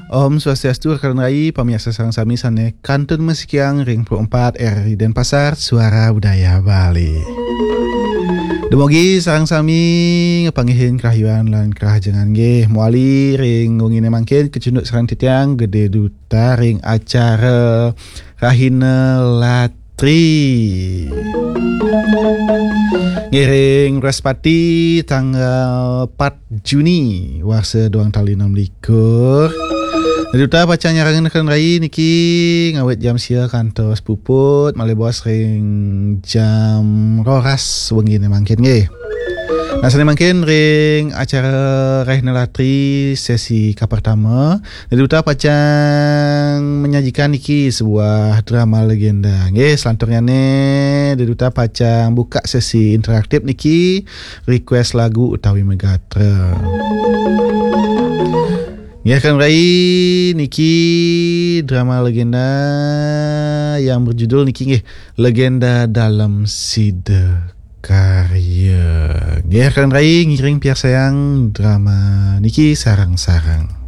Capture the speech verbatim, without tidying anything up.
Om Swastiastu, rekan rai, pamiarsa sareng sami sane kantun masikiang ring Pro empat R R I Denpasar, Suara Budaya Bali. Dumugi sareng sami ngepanggihin kerahayuan lan kerahajengan nggih. Mawali ring wengine mangkin kecunduk sareng titiang Gede Duta ring acara Rahina Latri. Ngiring Wrespati tanggal empat Juni warsa dua tali enam likur. Duta pacang nyarengin rekan rai niki ngawit jam sia kantos puput, malih bos ring jam roras wengine mangkin nggih. Nah, sane mangkin ring acara Rahina Latri sesi kapertama, Duta pacang menyajikan niki sebuah drama legenda. Nggih, selanturnyane Duta pacang buka sesi interaktif niki, request lagu utawi megatra. Nggih, rekan rai, niki drama legenda yang berjudul niki nggih, Legenda Dalem Sida Karya. Nggih, rekan rai, ngiring piarsayang drama niki sareng-sareng.